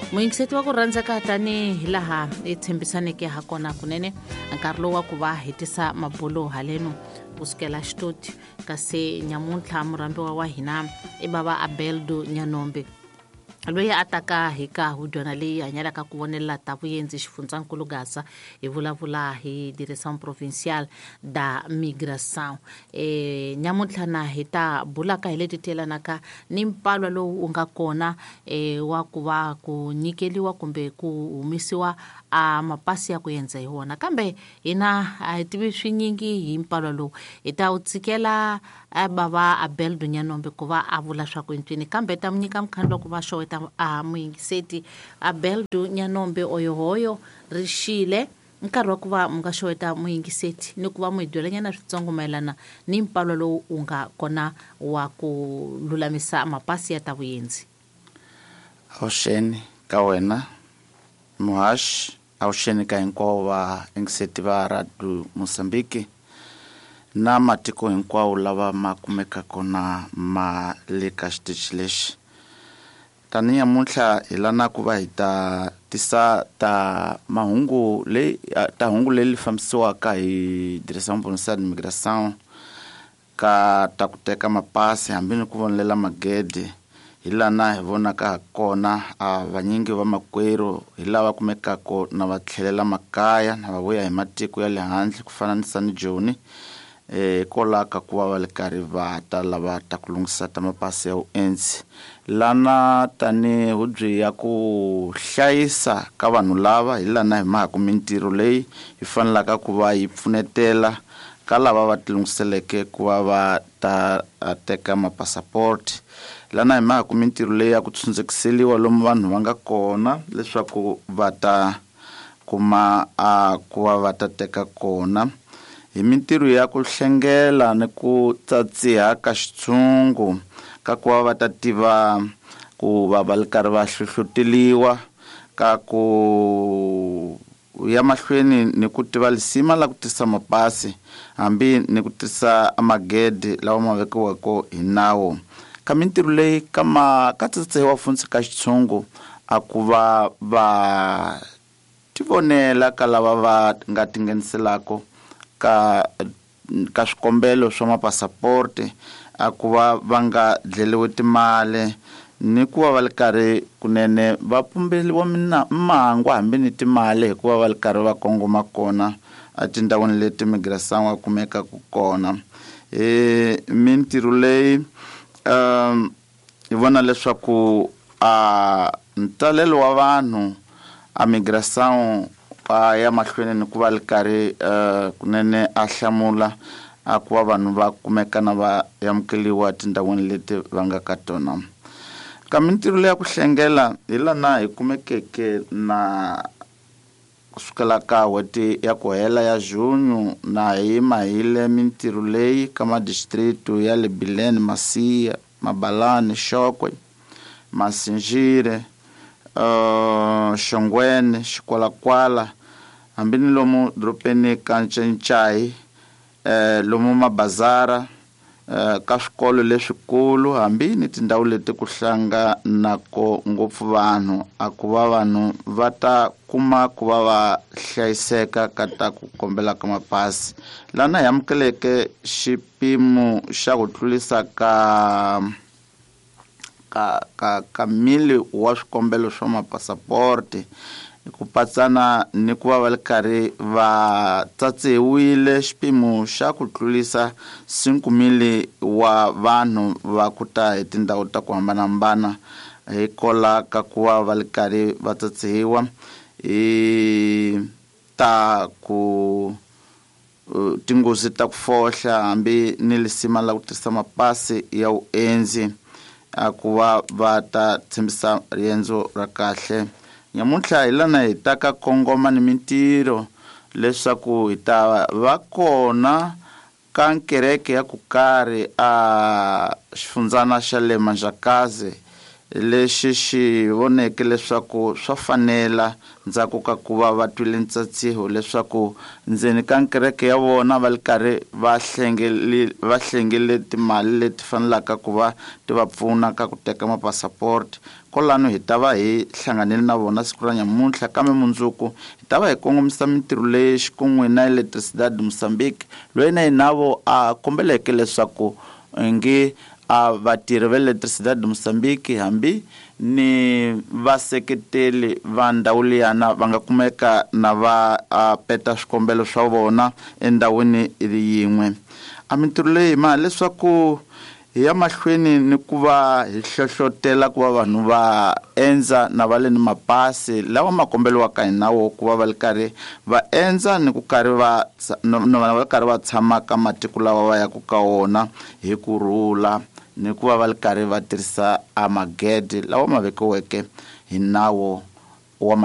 Muyingiseti wa ku rhandzeka, tanihi laha hi tshembisaneke ha kona, kunene nkarhi lowu wa ku va hetisa mabulo haleno kusukela xitoti, kasi nyamuntlha murhambiwa wa hina i bava Abeldo Nyanombe, loyi a taka hi ka hudyana leyi hanyelaka ku vonelela ta vuyenzi xifundzankulu Gaza. Hi vulavula hi Direção Provincial da Migração. Nyamuntlha na hi ta bulaka hi leti tiyelanaka ni mpalwa lowu wu nga kona wa ku va ku nyikeliwa kumbe ku humesiwa a mapasi ya ku endza hi wona, kambe hina a hi tivi swinyingi hi mpalwa lowu. Hi ta wu tsikela bava Abel Dunyanombe ku va a vula swa ku ncini, kambe ta mu nyika mukhandlu wa ku va xoweta a muyingiseti. Abel Dunyanombe, oyohoyo, rixile nkarhi wa ku va mu nga xoweta muyingiseti ni ku va mu hi byelanyana switsongo mayelana ni mpalwa lowu wu nga kona wa ku lulamisa mapasi ya ta vuyenzi. Avuxeni ka wena muhaxi, avuxeni ka hinkwavo va yingiseti va Radio Mozambique na matiko hinkwawo lava ma kumekaka na ma le ka xitichi lexi. Tanihi namuntlha hi lana ku va hi ta tisa ta mahungu leyi ta hungu leri fambisiwaka hi Direção Provincial de Migração ka ta ku teka mapasi hambi ni ku vonelela magede. Hi lana hi vonaka ha kona a vanyingi va makwerhu hi lava kumekaka na va tlhelela makaya na va vuya hi matiko ya le handle ku fana ni Sani Joni, hikwalaho ka ku va va le karhi va ta lava ta ku lunghisa ta mapasi ya vuendzi. Lana tani hubyi ya ku hlayisa ka vanhu lava, hi lana hi mhaka mintirho leyi yi fanelaka ku va yi pfunetela ka lava va tilunghiseleke ku va va ta teka mapasapoti. Lana hi mhaka mintirho leyi ya ku tshundzekiseliwa lomu vanhu va nga kona leswaku va ta kuma a ku va va ta teka kona, hi mintirho ya ku hlengela ni ku tsatsiha ka xitshungu ka ku va va ta tiva ku va va ri karhi va hlohloteliwa ka ku ya mahlweni ni ku tiva lisima la ku tisa mapasi hambi ni ku tisa magede lawa ma vekiweke hi nawu. Ka mintirho leyi ka ma ka tsatsihiwa funtsi ka xitshungu a ku va va tivonela ka lava va nga tingheniselaka ka swikombelo swa mapasaporti, a ku va va nga dleliwi timali ni ku va va li karhi kunene va pumbeliwa mangwa hambi ni timali, hikuva va li karhi va kongoma kona etindhawini leti migração va kumekaka kona. Hi mintirho leyi hi vona leswaku a ntalelo wa vanhu a migração a ya mahlweni ni ku va li karhi kunene a hlamula a ku va vanhu va kumeka na va amukeliwa etindhawini leti va nga ka tona. Ka mintirho leya ku hlengela, hi lana hi kumekeke na kusukela ka n'hweti ya ku hela ya junho na hi mahile mintirho leyi ka madistritu ya le Bilene, Macia, Mabalane, Chókwè, Massingir, Xongweni, Xikwalakwala, hambi ni lomu doropeni ka Ncencai, lomu mabazara, ka swikolo leswikulu hambi ni tindhawu leti ku hlanganako ngopfu vanhu, a ku va vanhu va ta kuma ku va va hlayiseka ka ta ku kombela ka mapasi. Lana hi amukeleke xipimo xa ku tlurisa ka mili wa swikombelo swa mapasaporti, ku patsana ni ku va va li karhi va tsatsiwile xipimo xa ku tlurisa 5,000 wa vanhu va ku ta hi tindhawu ta ku hambanahambana, hikola ka ku va va li karhi va tsatsiwa hi ta ku tinghozi ta ku fohla hambi ni lisima la ku tirhisa mapasi ya vuendzi, a ku va va ta tshembisa riendzo ra kahle. Nyamuntlha hi lana hi ta ka kongoma ni mintirho leswaku hi ta va kona ka nkereke ya ku karhi a xifundzana xa le Manjakazi. Lexi xi voneke leswaku swa fanela ndzhaku ka ku va va twile ntsatsiho leswaku ndzeni ka nkereke ya vona va li karhi va va hlengele timali leti fanelaka ku va ti va pfuna ka ku teka mapasaporti. Kolano hi ta va hi hlanganile na vona siku ra nyamuntlha, kambe mundzuku hi ta va hi kongomisa mintirho leyi xikun'we na Eletricidade Moçambique, loyi na yena vo a kombeleke leswaku ngi a vatirhi va Eletricidade Moçambique hambi ni vaseketeli va ndhawu liyana va nga kumeka na va peta swikombelo swa vona endhawini yin'we. A mintirho leyi ma leswaku hi ya mahlweni ni ku va hi hlohlotela ku va vanhu va endza na va le ni mapasi lawa ma kombeliwaka hi nawu ku va va li karhi va endza ni ku karhi va na va karhi va tshama ka matiko lawa va yaku ka wona hi ku rhula, ni ku va va li karhi va tirhisa a magede lawa ma vekiweke hi nawu.